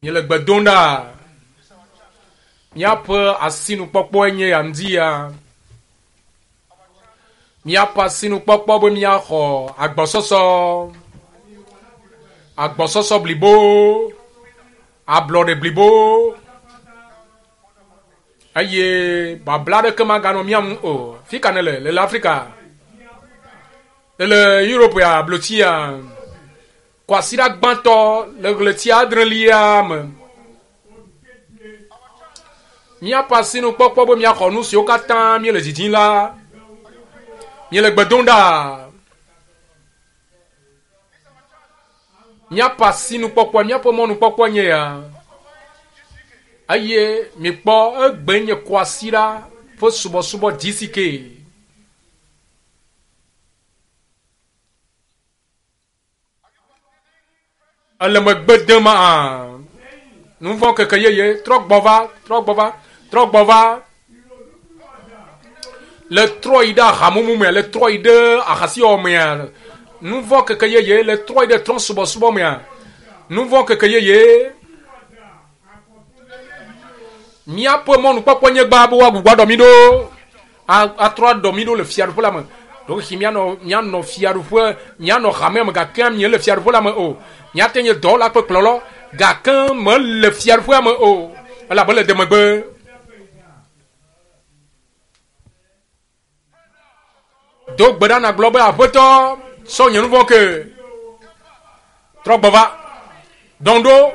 Miele gbe dom ɖa. Míaƒe asinukpɔkpɔe nye ya ŋdi ya. Míaƒe asinukpɔkpɔ be míaxɔ agbɔsɔsɔ, agbɔsɔsɔ blibo, ablɔɖe blibo eye babla aɖeke maganɔ mía ŋu o. Fi ka nèle? Le le Afrika? Le le Europe ya, blotsia? Kwasiɖa gbãtɔ le ɣleti adrelia me. Míaƒe asinukpɔkpɔ be míaxɔ nu siwo katã míele didim la, míele gbe dom ɖa. Míaƒe asinukpɔkpɔ, míaƒe mɔnukpɔkpɔ nye ya. Eye mikpɔ egbe nye kwasiɖa ƒe subɔsubɔ GCK. Ele megbe dem hã. Nu vɔ̃ keke yeye trɔ gbɔ va, trɔ gbɔ va, trɔ gbɔ va. Le trɔ yi ɖe ahamumu mea, le trɔ yi ɖe ahasiwɔwɔ mea, nu vɔ̃ keke yeye le trɔ yi ɖe trɔ̃subɔsubɔ mea, nu vɔ̃ keke yeye. Míaƒe mɔnukpɔkpɔ nye gbã be woagbugbɔ aɖɔ mí ɖo. atrɔ aɖɔ mí ɖo le fiaɖuƒe la me. Ɖewohĩ míanɔ míanɔ fiaɖuƒe, míanɔ hamea me gake míele fiaɖuƒe la me o. Míate nye dɔwɔla kple kplɔlɔ gake mele fiaɖuƒea me o, elabe le demegbe. Do gbe ɖa nàgblɔ be, Aƒetɔ, tsɔ nye nu vɔ̃ ke. Trɔ gbɔ va. Ɖɔŋ ɖo.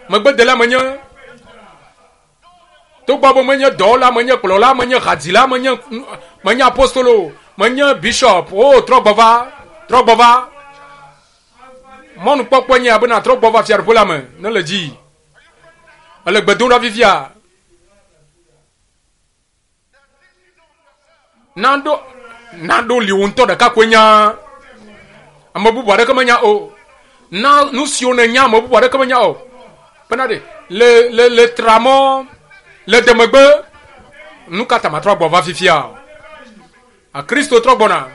Megbedela menye. Togbɔ be menye dɔwɔla, menye kplɔla, menye hadzila, menye menye apostolo, menye bishop, o trɔ gbɔ va, trɔ gbɔ va. Mɔnukpɔkpɔ nye abe nàtrɔ gbɔ va fiaɖuƒe la me ne le dzi. Ele gbe dom ɖa fifia. Naɖo naɖo li wò ŋutɔ ɖeka koe nya. Ame bubu aɖeke menya o. Na nu siwo nènya ame bubu aɖeke menya o. Bena ɖe le le le tramɔ le demegbe. Nu ka ta matrɔ agbɔ va fifia o? A Kristo trɔ gbɔna.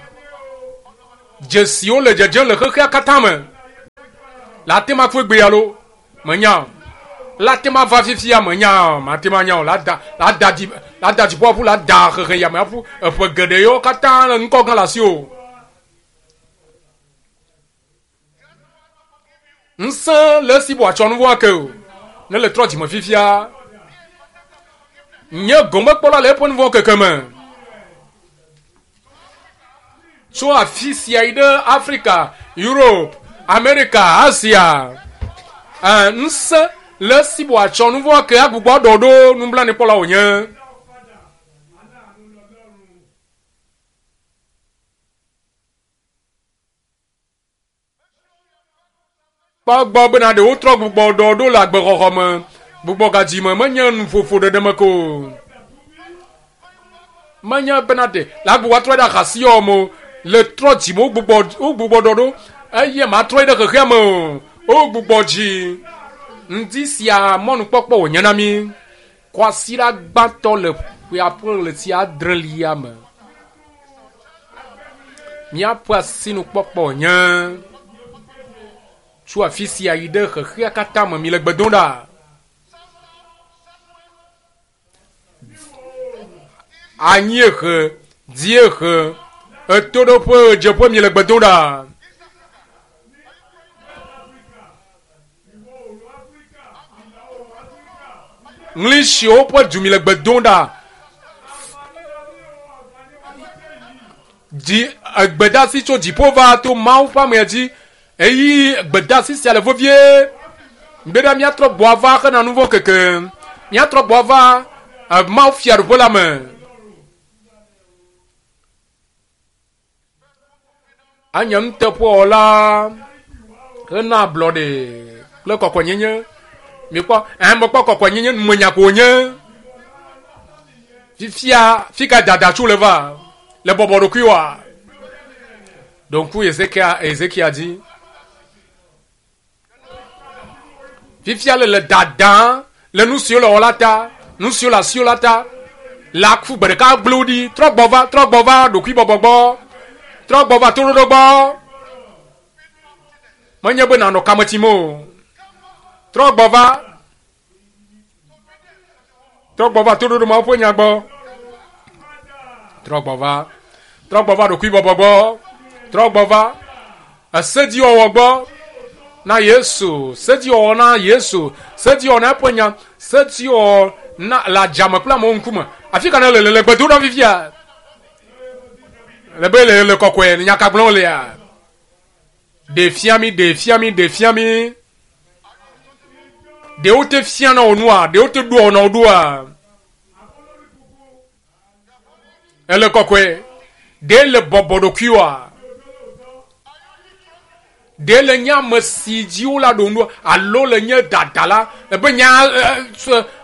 Dzesiwo le dzedzem le xexea katã me. Le ate ma kpe gbe alo Menya o. La te ma va fifia menya o. Mate ma nya o. La da la da dzi la da dziƒo aƒu la da xexe yame aƒu eƒe geɖe yewo katã le ŋkɔ gã le asi o. Ŋusẽ le esi be wòatsɔ nu vɔ̃ ake o. Ne le trɔ dzime fifia. Nye gomekpɔla le eƒe nu vɔ̃ keke me. Tso afi sia yi ɖe Afrika, Europe, Amerika, Asia. Ɛ, ŋusẽ le esi be wòatsɔ nu vɔ̃ ke agbugbɔ aɖɔ ɖo nublanuikpɔla wònye. Kpɔ egbɔ bena ɖe wotrɔ gbugbɔ ɖɔ ɖo le agbexɔxɔ me. Gbugbɔgadzi me menye nuƒoƒo ɖeɖe me ko o. Menye bena ɖe le agbugbɔ atrɔ ɖe ahasiwɔwɔ me o. Le trɔ dzi me wogbugbɔ wogbugbɔ ɖɔ ɖo eye matrɔe ɖe xexea me o. Wogbugbɔ dzi. Ŋdi sia mɔnukpɔkpɔ wònye na mí. Kwasiɖa gbãtɔ le ƒea ƒe ɣleti adrelia me. Míaƒe asinukpɔkpɔ nye tso afi sia yi ɖe xexea katã me. Mile gbe dom ɖa. Anyiehe, dziehe, ɣetoɖoƒe, ɣedzeƒe, mile gbe dom ɖa. Ŋlisiwo ƒe du mi le gbe dom ɖa. Dzi egbedasi tso dziƒo va to Mawu ƒe amea dzi. Eyi gbedasi sia le vevie. Be ɖa míatrɔ gbɔ ava hena nu vɔ̃ keke. Míatrɔ gbɔ ava eh, Mawu fiaɖuƒe la me. Anye nuteƒewɔla hena ablɔɖe kple kɔkɔenyenye. Mikpɔ, ɛ mekpɔ kɔkɔenyenye numenya ko wònye. Fifia, fi ka dada tso le va? Le bɔbɔ ɖokuiwòa? Ɖo ŋku Ezekia, Ezekia dzi. Fifia le le dadã le nu siwo le wɔ la ta, nu siwo le asiwò la ta. La ku gbe ɖeka gblẽ wo ɖi. Trɔ gbɔ va, trɔ gbɔ va ɖokuibɔbɔ gbɔ. Trɔ gbɔ va toɖoɖo gbɔ. Menye be nànɔ kame tim o. Trɔ gbɔ va. Trɔ gbɔ va toɖoɖo Mawu ƒe nya gbɔ. Trɔ gbɔ va. Trɔ gbɔ va ɖokuibɔbɔ gbɔ. Trɔ gbɔ va esedziwɔwɔ gbɔ na Yesu. Sedziwɔwɔ na Yesu. Sedziwɔwɔ na eƒe nya. Sedziwɔwɔ na le adzame kple amewo ŋkume. Afi ka ne le le gbedoɖa fifia? Le be le le kɔkɔe nya ka gblɔm wolea? Ɖe fia mi, ɖe fia mi, ɖe fia mi. Ɖe wote fia na wò nua? Ɖe wote ɖoa na wò ɖoa? Ele kɔkɔe. Ɖe le bɔbɔ ɖokuiwoa? Ɖe le nye ame si dzi wole aɖo nu alo le nye dadala ebe nya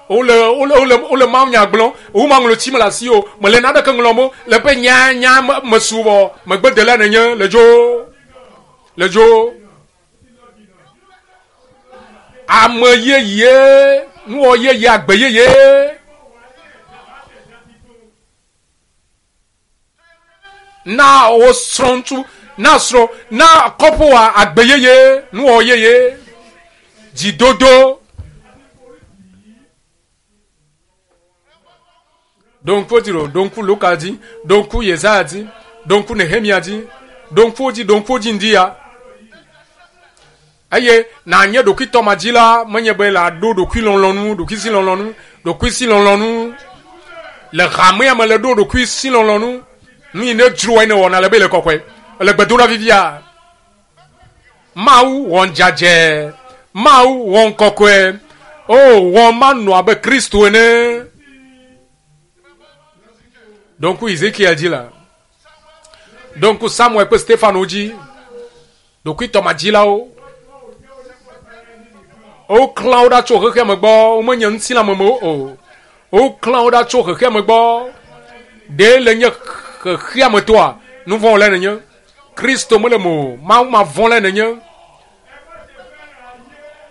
wole wole wole wole mawu nya gblɔm wo ma ŋlɔ tsi me le asi o mele naneke ŋlɔm o le ƒe nya nya mesubɔ megbedela nenye le dzo le dzo ame yeye nuwɔ yeye agbe yeye. Na wo srɔ̃ ŋutsu, na srɔ̃, na kɔƒoa agbe yeye, nuwɔwɔ yeye, dzidodo. Ɖo ŋku wo dzi ɖo, ɖo ŋku Luka dzi, ɖo ŋku Yesaya dzi, ɖo ŋku Nehemia dzi, ɖo ŋku wo dzi, ɖo ŋku wo dzi ŋdi ya. Eye nànye ɖokuitɔmadzila menye be nàɖo ɖokuilɔlɔ̃nu, ɖokuisilɔlɔ̃nu, ɖokuisilɔlɔ̃nu le hamea me le ɖo ɖokuisilɔlɔ̃nu. Nu yi ne dzroa yi ne wɔna le be le kɔkɔe. Le gbedoɖa vivia. Mawu wɔn dzadzɛ. Mawu wɔn kɔkɔe. O wɔn manɔ abe Kristo ene. Ɖo ŋku Ezekiel dzi la. Ɖo ŋku Samuel kple Stefano dzi. Ɖokuitɔmadzilawo. Woklã wo ɖa tso xexea me gbɔ, womenye ŋutilãmemewo o. Woklã wo ɖa tso xexea me gbɔ. Ɖe le nye xexea me tɔa, nu vɔ̃ wɔlae nènye. Kristo mele me o, Mawu mavɔ̃lae nènye.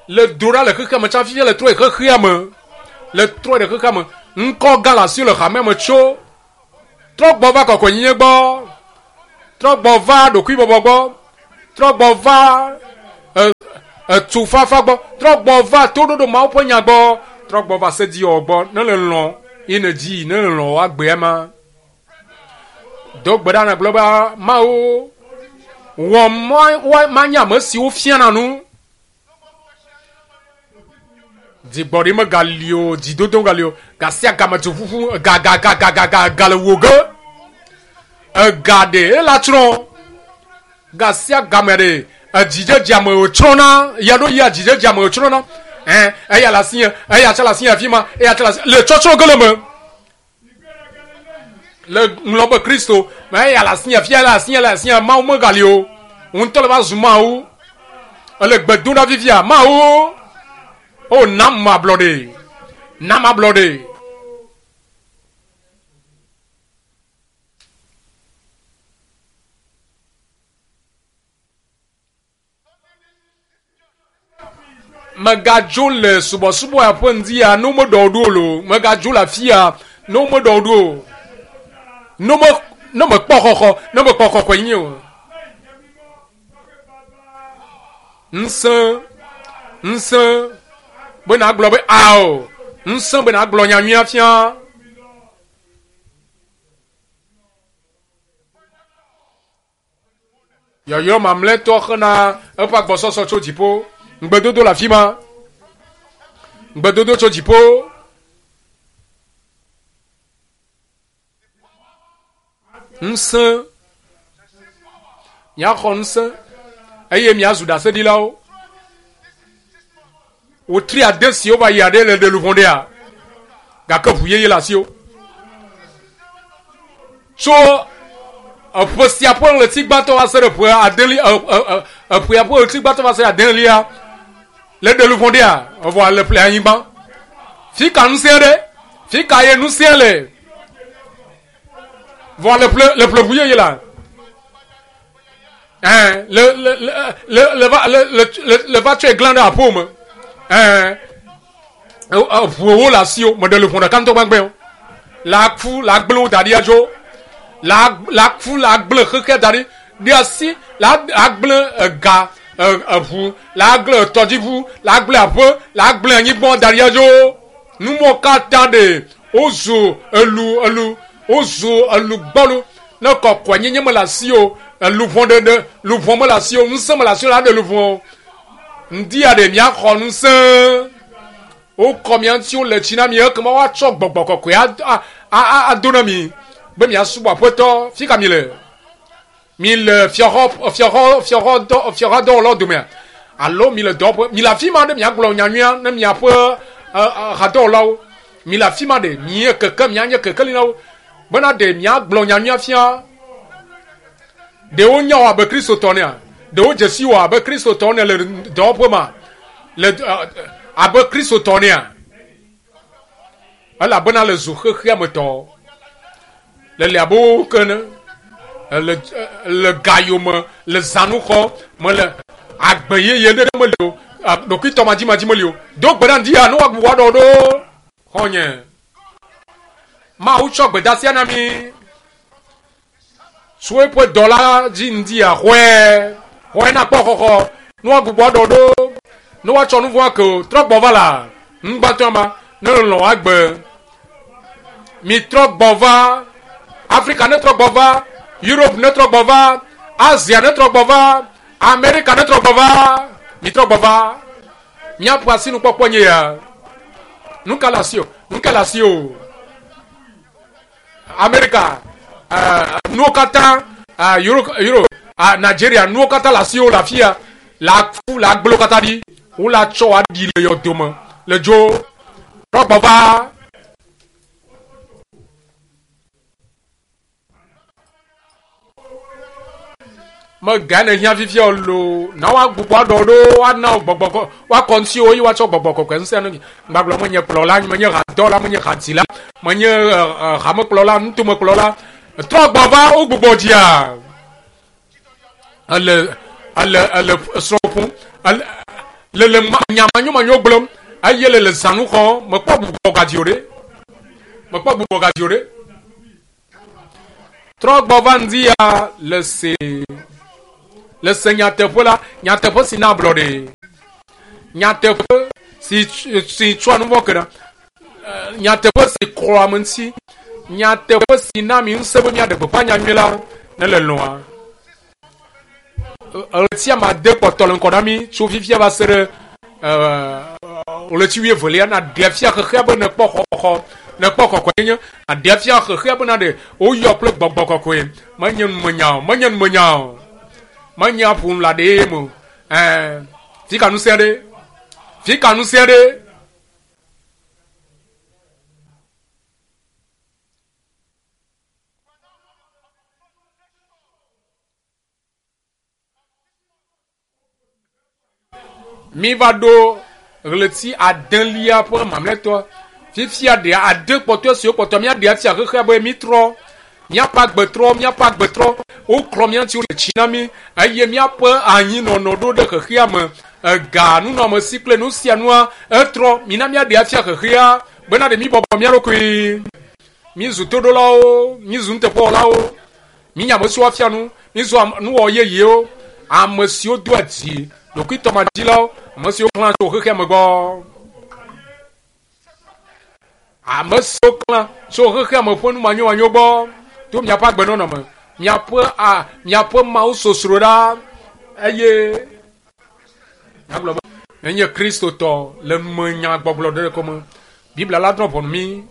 Le do ɖa le xexea me tsã fifia le trɔe xexea me. Le trɔe ɖe xexea me. Ŋkɔ gã le asiwò le hamea me tso. Trɔ gbɔ va kɔkɔenyenye gbɔ. Trɔ gbɔ va ɖokuibɔbɔ gbɔ. Trɔ gbɔ va etufafa gbɔ. Trɔ gbɔ va toɖoɖo Mawu ƒe nya gbɔ. Trɔ gbɔ va sediwɔwɔ gbɔ. Ne le lɔ̃ ye nèdzi, ne le lɔ̃ wò agbea ma. Do gbe ɖa nàgblɔ be Mawu wɔ manye ame siwo fiana nu. Dzigbɔɖi megali o, dzidodo megali o. Ga sia game duƒuƒu ga ga ga ga ga ga ga le wò ge. Ega ɖe ela tsrɔ̃. Ga sia game ɖe edzidzedze ame wòtsrɔ̃na. Ya ɖo yia dzidzedze ame wòtsrɔ̃na. Ɛ eya le asinye, eya tsɛ le asinye afi ma, eya tsɛ le asi le tsɔtsrɔ̃ ge le me. Le ŋlɔ be Kristo, mɛ eya le asinye fia le asinye le asinye Mawu megali o. Ŋutɔ le va zu Mawu. Ele gbe dom ɖa fifia. Mawu, o nam ablɔɖe. Nam ablɔɖe. Mègadzo le subɔsubɔ ya ƒe ŋdi ya ne womeɖɔ wò ɖo o loo. Mègadzo le afi ya ne womeɖɔ wò ɖo o. Ne wome ne mèkpɔ xɔxɔ ne mèkpɔ kɔkɔenyenye o. Ŋusẽ ŋusẽ be nàgblɔ be ao. Ŋusẽ be nàgblɔ nyanyuia fia. Yɔyɔ mamlɛtɔ xena eƒe agbɔsɔsɔ tso dziƒo. Ŋugbedodo le afi ma. Ŋugbedodo tso dziƒo. Ŋusẽ. Miaxɔ ŋusẽ eye miazu ɖaseɖilawo. Wotri ade siwo va yi aɖe le ɖe luʋɔ ɖea, gake ʋu yeye le asiwò. Tso eƒe sia ƒe ɣleti gbãtɔ va se ɖe ƒe adelia, eƒea ƒe ɣleti gbãtɔ va se ɖe adelia le ɖe luʋɔ ɖea, evɔ le ƒle anyigba. Fi ka ŋusẽ ɖe? Fi ka ye ŋusẽ le? Vɔ le ƒle le ƒle ʋu yeye la. Ɛn le le le le le va le le le le va tsɔe glã ɖe aƒewò me. Ɛn eʋuwo le asiwò meɖe le ʋɔ ɖeka ŋutɔ gbãgbɛ o. La ku la gblẽ wo da ɖi adzo. La la ku la gblẽ xexea da ɖi. Ɖe asi la agblẽ ega eʋu la gblẽ etɔdziʋu la gblẽ aƒe la gblẽ anyigba da ɖi adzo. Numɔ katã ɖe. Wozu elu elu wozu elu gbɔlu. Ne kɔkɔenyenye mele asi o, luʋɔ ɖeɖe luʋɔ mele asi o, ŋusẽ mele asi o la ɖe luʋɔ o. Ŋdi aɖe miaxɔ ŋusẽ. Wokɔ mia ŋuti wole tsi na mi ekema woatsɔ gbɔgbɔ kɔkɔe ado na mi be miasubɔ Aƒetɔ. Fi ka mi le? Mi le fiaxɔ fiaxɔ fiaxɔ dɔ fiaxɔ dɔwɔlawo domea alo mi le dɔwɔƒe? Mi le afi ma ɖe miagblɔ nyanyuia ne miaƒe hadɔwɔlawo. Mi le afi ma ɖe mie keke mianye kekeli na wo bena ɖe miagblɔ nyanyuia fia. Ɖewo nya wò abe Kristotɔ nea? Ɖewo dze si wò abe Kristotɔ ne le dɔwɔƒe ma? Le abe Kristotɔ nea? Elabena le zu xexea me tɔ. Le le abe wo ke ne le le gayome le zanuxɔ me le agbe yeye ɖe meli o. Ɖokuitɔ madzimadzi meli o. Do gbe ɖa ŋdi ya ne woagbugbɔ aɖɔ ɖo xɔnye. Mawu tsɔ gbedasia na mi. Tso eƒe dɔla dzi ŋdi ya xɔe. Xɔe na kpɔ xɔxɔ. Ne woagbugbɔ aɖɔ ɖo. Ne woatsɔ nu vɔ̃ ake o. Trɔ gbɔ va la. Ŋugbãtɔ ma. Ne lɔlɔ̃ agbe. Mi trɔ gbɔ va. Afrika ne trɔ gbɔ va. Europe ne trɔ gbɔ va. Asia ne trɔ gbɔ va. Amerika ne trɔ gbɔ va. Mi trɔ gbɔ va. Miaƒe asinukpɔkpɔ nye ya. Nu ka le asi o? Nu ka le asi o? Amerika, nuwo katã, Europe, Europe, Nigeria, nuwo katã le asiwò le afi ya. Le afu, le agblewo katã ɖi. Wole atsɔ aɖi le yɔdome le dzo. Trɔ gbɔ va. Mega ne hiã fifia o loo. Na woagbugbɔ aɖɔ ɖo, woana wò gbɔgbɔ kɔ, woakɔ ŋutiwò eye woatsɔ gbɔgbɔ kɔkɔe ŋusẽ na mi. Gbagblɔ menye kplɔla, menye hadɔla, menye hadzila, menye hamekplɔla, nutomekplɔla. Trɔ gbɔ va wogbugbɔ dzia. Ele ele ele srɔ̃ ƒom, ele le le nya manyomanyo gblɔm eye le le zãnu xɔm. Mekpɔ gbugbɔ gadzi o ɖe. Mekpɔ gbugbɔ gadzi o ɖe. Trɔ gbɔ va ŋdi ya le se le se nyateƒe la, nyateƒe si na ablɔɖe, nyateƒe si si tsɔa nu vɔ̃ kena, nyateƒe si klɔa ame ŋuti, nyateƒe si na mi ŋusẽ be míaɖe gbeƒã nyanyui la ne le lɔ̃a. Ɣleti ame ade kpɔtɔ le ŋkɔ na mí tso fifia va se ɖe ɣleti wuievelia nàɖe afia xexea be nèkpɔ xɔxɔ, nèkpɔ kɔkɔenyenye, nàɖe afia xexea be naɖe woyɔ kple gbɔgbɔ kɔkɔe. Menye numenya o, menye numenya o, menye aƒo nu le aɖee me o. Ɛɛ, fi ka ŋusẽ ɖe? Fi ka ŋusẽ ɖe? Mi va ɖo ɣleti adelia ƒe mamlɛtɔ. Fifia ɖe ade kpɔtɔe siwo kpɔtɔ míaɖe afia xexea be mítrɔ. Míaƒe agbe trɔ, míaƒe agbe trɔ. Woklɔ mía ŋuti wole tsi na mí eye míaƒe anyinɔnɔ ɖo ɖe xexea me. Ega, nunɔamesi kple nu sia nua etrɔ. Mina míaɖe afia xexea bena ɖe míbɔbɔ mía ɖokui. Mízu toɖolawo, mízu nuteƒewɔlawo. Mínye ame siwo afia nu, mízu nuwɔwɔ yeyewo, ame siwo doa dzi, ɖokuitɔmadzilawo, ame siwo klã tso xexea me gbɔ. Ame siwo klã tso xexea me ƒe numanyomanyo gbɔ to miaƒe agbenɔnɔ me, miaƒe a miaƒe Mawu sosro ɖa eye miagblɔ be menye Kristotɔ le numenyagbɔgblɔ ɖe ko me. Biblia la drɔ̃ ʋɔnu mí.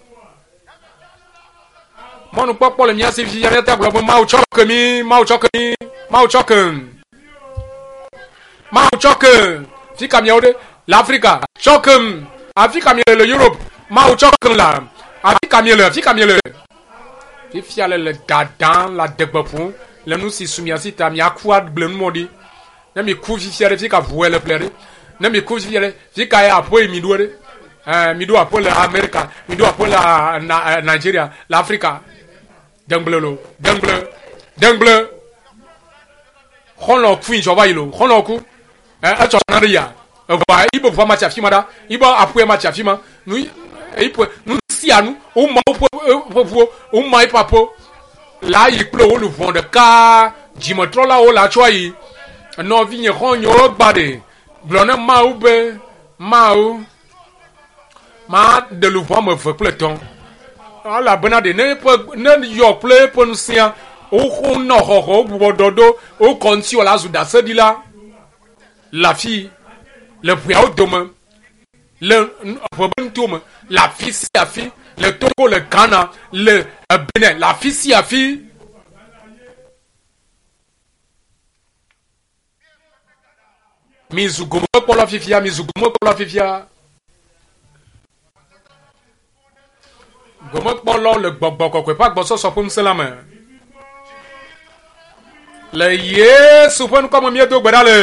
Mɔnukpɔkpɔ le mía si fifia míate agblɔ be Mawu tsɔ ke mí, Mawu tsɔ ke mí, Mawu tsɔ ke. Mawu tsɔ ke. Fi ka miawo ɖe? Le Afrika. Tsɔ ke. Afi ka miele le Europe? Mawu tsɔ ke la. Afi ka miele? Afi ka miele? Fifia le le dadam le adegbe ƒom le nu si su mia si ta miaku agble numɔ ɖi. Ne mi ku fifia ɖe, fi ka ʋue le ƒle ɖe? Ne mi ku fifia ɖe, fi ka ye aƒe yi mi ɖo ɖe? Ɛɛ, mi ɖo aƒe le Amerika, mi ɖo aƒe le na, Nigeria, le Afrika. Dengble lo, dengble, dengble. Xɔlɔ̃ kui dzɔ va yi lo, xɔlɔ̃ ku. Ɛ, etsɔ na ɖe ya. Eʋa, ibe ʋua ma tsi afi ma ɖa, ibe aƒea ma tsi afi ma. Nu, iƒe, nu sia nu, woma woƒe ƒe ʋuwo, woma eƒe aƒewo. La yi kple wo luʋɔ ɖeka, dzimetrɔlawo la tsɔ ayi. Nɔvinye xɔ̃nyewo gba ɖe, gblɔ ne Mawu be, Mawu, maɖe luʋɔ ame eve kple etɔ̃. Elabena ɖe ne eƒe ne yɔ kple eƒe ŋusẽa wonɔ xɔxɔ wogbugbɔ ɖɔ ɖo wokɔ ŋuti wòle azu ɖaseɖila le afi le ƒeawo dome le ƒe be nuto me le afi sia afi le Togo le Ghana le Benin le afi sia afi. Mizu gomekpɔla fifia, mizu gomekpɔla fifia. Gomekpɔlawo le gbɔgbɔ kɔkɔe ƒe agbɔsɔsɔ ƒe ŋusẽ la me. Le Yesu ƒe ŋkɔ me míedo gbe ɖa le.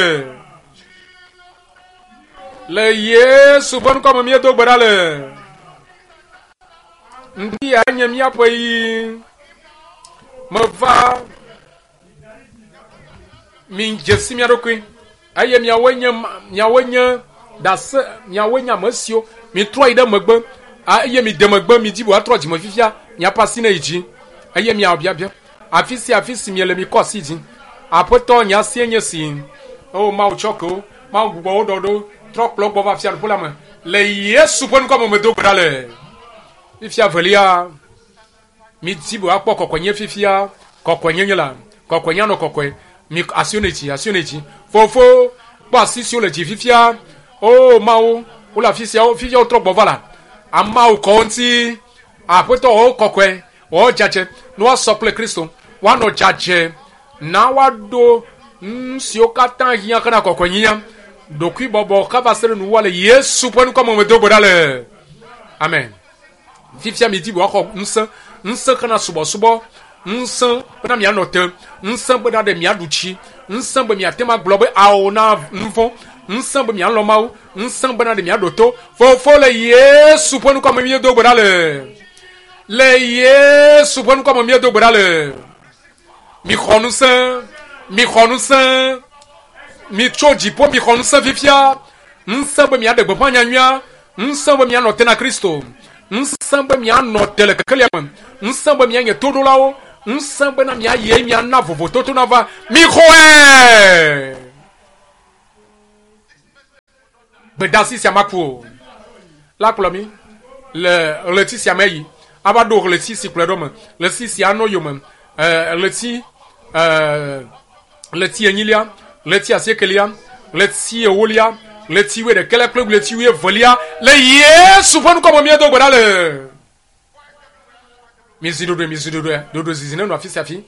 Le Yesu ƒe ŋkɔ me míedo gbe ɖa le. Ŋdi ya nye míaƒe yi. Meva mi dze si mia ɖokui eye miawoe nye miawoe nye ɖase miawoe nye ame siwo mitrɔ yi ɖe megbe eye mi de megbe mi dzi be woatrɔ dzime fifia miaƒe asi ne yi dzi eye miawɔ biabia afi sia afi si miele mikɔ asi dzi aƒetɔ nye asie nye si o mawu tsɔ ke wo mawu gbugbɔ wo ɖɔ ɖo trɔ kplɔ gbɔ va fiaɖuƒe la me le yesu ƒe ŋkɔ me medo gbe ɖa le fifia velia Midi be woakpɔ kɔkɔenye fifia. Kɔkɔenyenye la, kɔkɔenye anɔ kɔkɔe. Mi asiwo ne dzi, asiwo ne dzi. Fofo, kpɔ asi siwo le dzi fifia. O Mawu, wole afi sia, fifia wotrɔ gbɔ va la. Ameawo kɔ wo ŋuti. Aƒetɔ wɔ wo kɔkɔe, wɔ wo dzadzɛ, ne woasɔ kple Kristo. Woanɔ dzadzɛ. Na woaɖo nu siwo katã hiã hena kɔkɔenyenyea. Ɖokuibɔbɔ kaba se ɖe nuwuwua le Yesu ƒe ŋkɔ me medo gbe ɖa le. Amen. Fifia midi be woaxɔ ŋusẽ, ŋusẽ hena subɔsubɔ, ŋusẽ bena mianɔ te, ŋusẽ bena ɖe miaɖu tsi, ŋusẽ be miate ŋu agblɔ be ao na nuvɔ̃, ŋusẽ be mialɔ̃ Mawu, ŋusẽ bena ɖe miaɖo to. Fofo le Yesu ƒe ŋkɔ me míedo gbe ɖa le. Le Yesu ƒe ŋkɔ me míedo gbe ɖa le. Mixɔ ŋusẽ, mixɔ ŋusẽ, mitso dziƒo mixɔ ŋusẽ fifia, ŋusẽ be miaɖe gbeƒã nyanyuia, Ŋusẽ be mianɔ te na Kristo. Ŋusẽ be mianɔ te le kekelia me. Ŋusẽ be mianye toɖolawo. Ŋusẽ bena miayi eye miana vovototo nava. Mixɔe! Gbedasi sia maku o. La kplɔ mi le ɣleti sia me yi ava ɖo ɣleti si kplɔe ɖo me. Ɣleti sia anɔ yome. Ɣleti ɣleti enyilia, ɣleti asiekelia, ɣleti ewolia, ɣleti wuiɖekɛlia kple ɣleti wuievelia le Yesu ƒe ŋkɔ me míedo gbe ɖa le. Mizi ɖoɖoe, mizi ɖoɖoe, ɖoɖoe zizi nenɔ afi sia afi.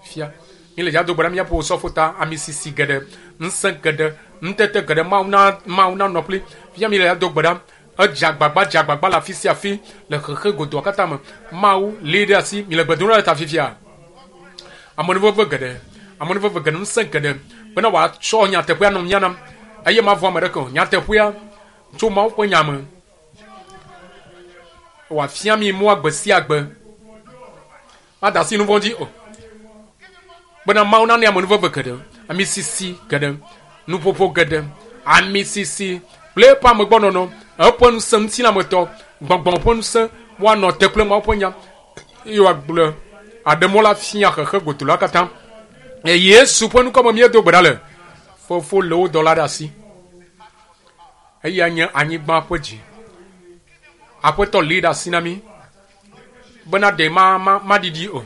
Fia, míle dza do gbe ɖa míaƒe osɔfo ta, ami sisi geɖe, ŋusẽ geɖe, ŋutete geɖe, Mawu na Mawu nanɔ kpli. Fia míle dza do gbe ɖa. Edze agbagba, dze agbagba le afi sia afi le xexe godoa katã me. Mawu lée ɖe asi. Míle gbe dom ɖa le ta fifia. Amenuveve geɖe, amenuveve geɖe, ŋusẽ geɖe bena wòatsɔ nyateƒea nɔ mía nam eye mavɔ̃ ame ɖeke o. Nyateƒea tso Mawu ƒe nya me. Wòafia mi mɔa gbe sia gbe. Mada asi nu vɔ̃ dzi o. Bena Mawu nana amenuveve geɖe, ami sisi geɖe, nuƒoƒo geɖe, ami sisi kple eƒe amegbɔnɔnɔ, eƒe ŋusẽ ŋutilãmetɔ, gbɔgbɔ ƒe ŋusẽ, woanɔ te kple Mawu ƒe nya. Eye wòagblɔ aɖe mɔ la fia xexe godo la katã. Le Yesu ƒe ŋkɔ me míedo gbe ɖa le. Fofo le wo dɔla ɖe asi. Eya nye anyigba ƒe dzi. Aƒetɔ lée ɖe asi na mí bena ɖe ma, ma, maɖiɖi o.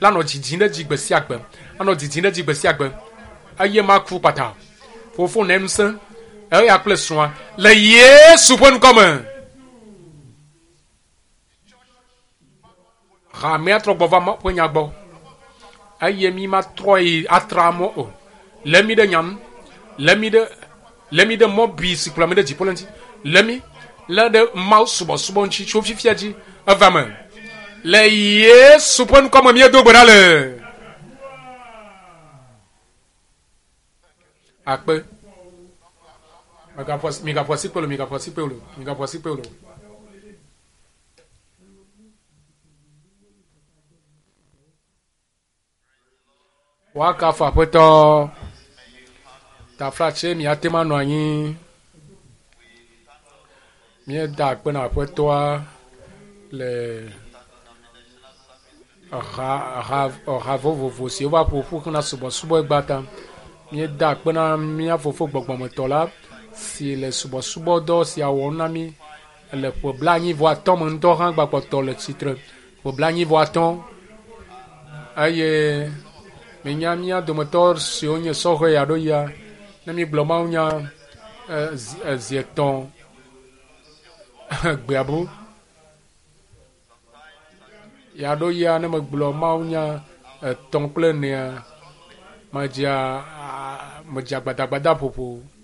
La nɔ dzidzim ɖe edzi gbe sia gbe. Anɔ dzidzim ɖe edzi gbe sia gbe. Eye maku kpata. Fofo ne ŋusẽ eya kple srɔ̃a le Yesu ƒe ŋkɔ me. Hamea trɔ gbɔ va Mawu ƒe nya gbɔ eye mi matrɔ yi atra mɔ o. Lé mi ɖe nya ŋu, lé mi ɖe lé mi ɖe mɔ bui si kplɔ mi ɖe dziƒo la ŋuti, lé mi lé ɖe Mawu subɔsubɔ ŋuti tso fifia dzi eva me. Le Yesu ƒe ŋkɔ me míedo gbe ɖa le. Akpe. Migaƒo asikpe o, migaƒo asikpe o, migaƒo asikpe o. Woakafu Aƒetɔ. Taflatse miate ŋu anɔ anyi. Míeda akpe na Aƒetɔa le ha ha ha vovovo siwo va ƒoƒu hena subɔsubɔ egbea ta. Míeda akpe na mía fofo gbɔgbɔmetɔ la si le subɔsubɔdɔ sia wɔm na mí. Le ƒe blaenyi-vɔ-atɔ̃ me ŋutɔ hã gbakpɔtɔ le tsitre. Ƒe blaenyi-vɔ-atɔ̃. Eye minya mía dometɔ siwo nye sɔhɛ alo ya, ne mígblɔ mawunya zi etɔ̃ gbea bu. Ya ɖo ya ne megblɔ mawunya etɔ̃ kple enea, medzea medzea gbadagbada ƒoƒo.